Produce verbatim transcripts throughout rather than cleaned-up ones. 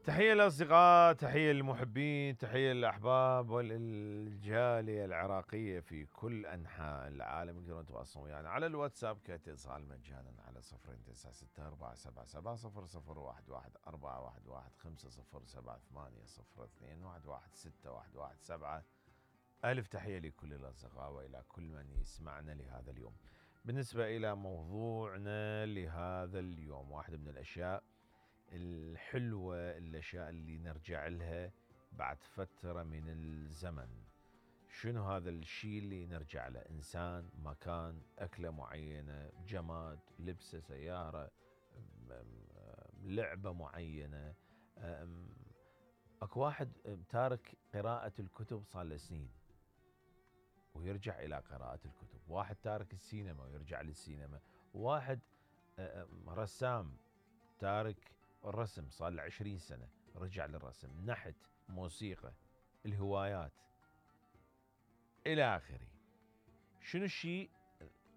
تحية للأصدقاء، تحية للمحبين، تحية للأحباب والجالية العراقية في كل أنحاء العالم. يقدرون يتواصلون ويانا يعني على الواتساب كاتصال مجانا على صفرين تسعة ستة أربعة سبعة سبعة صفر صفر واحد واحد أربعة واحد واحد خمسة صفر سبعة ثمانية صفر اثنين واحد واحد ستة واحد واحد سبعة. ألف تحية لكل الأصدقاء وإلى كل من يسمعنا لهذا اليوم. بالنسبة إلى موضوعنا لهذا اليوم، واحدة من الأشياء الحلوة، الأشياء اللي نرجع لها بعد فترة من الزمن. شنو هذا الشيء اللي نرجع له؟ إنسان، مكان، أكلة معينة، جماد، لبسة، سيارة، لعبة معينة. أكو واحد تارك قراءة الكتب صار له سنين ويرجع إلى قراءة الكتب. واحد تارك السينما ويرجع للسينما. واحد رسام تارك الرسم صار له عشرين سنة رجع للرسم. نحت، موسيقى، الهوايات إلى آخره. شنو الشيء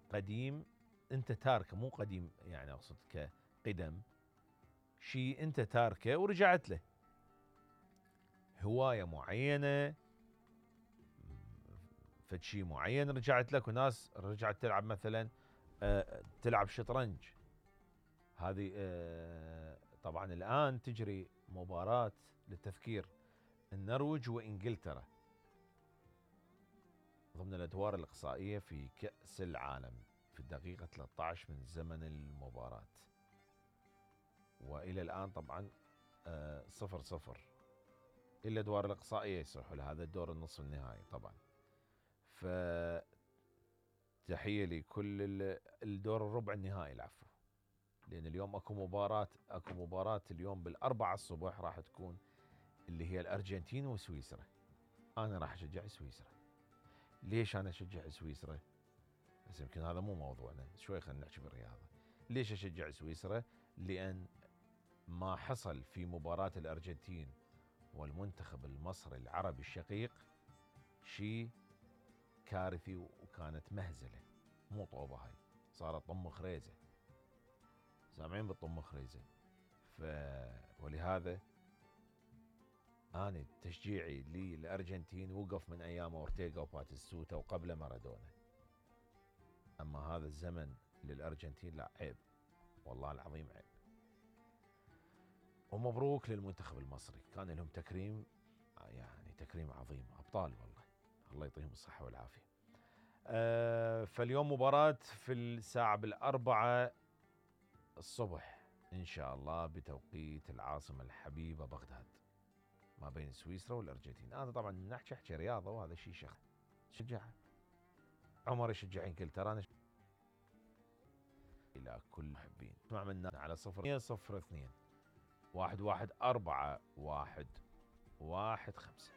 قديم أنت تاركه؟ مو قديم يعني أقصد كقدم، شيء أنت تاركه ورجعت له. هواية معينة، فشي معين رجعت لك. وناس رجعت تلعب مثلا أه تلعب شطرنج. هذه أه طبعا الآن تجري مباراة للتذكير النرويج وإنجلترا ضمن الأدوار الإقصائية في كأس العالم في الدقيقة ثلاثة عشر من زمن المباراة. وإلى الآن طبعا أه صفر صفر إلا الأدوار الإقصائية يصيحوا لهذا الدور النصف النهائي طبعا. فتحية لكل الدور الربع النهائي العفو، لأن اليوم أكو مباراة أكو مباراة اليوم بالأربعة الصبح راح تكون اللي هي الأرجنتين وسويسرا. أنا راح أشجع سويسرا. ليش أنا أشجع سويسرا؟ بس يمكن هذا مو موضوعنا، شوي خلينا نحكي بالرياضة. ليش أشجع سويسرا؟ لأن ما حصل في مباراة الأرجنتين والمنتخب المصري العربي الشقيق شيء كارثي، وكانت مهزلة مو طوبة. هاي صارت طم خريزة، سامعين بالطم خريزة. ف ولهذا أنا تشجيعي للأرجنتين وقف من أيام أورتيغا وباتيستوتا وقبل مارادونا. أما هذا الزمن للأرجنتين لا، عيب والله العظيم عيب. ومبروك للمنتخب المصري، كان لهم تكريم يعني تكريم عظيم، أبطال والله، الله يعطيهم الصحة والعافية. أه فاليوم مباراة في الساعة بالأربعة الصبح إن شاء الله بتوقيت العاصمة الحبيبة بغداد، ما بين سويسرا والأرجنتين. أنا طبعا نحكي حكي رياضة وهذا شيء شخص شجع. عمر يشجع إنجلترا. أنا إلى كل محبين اسمع منا على صفر صفر اثنين واحد واحد أربعة واحد واحد خمسة.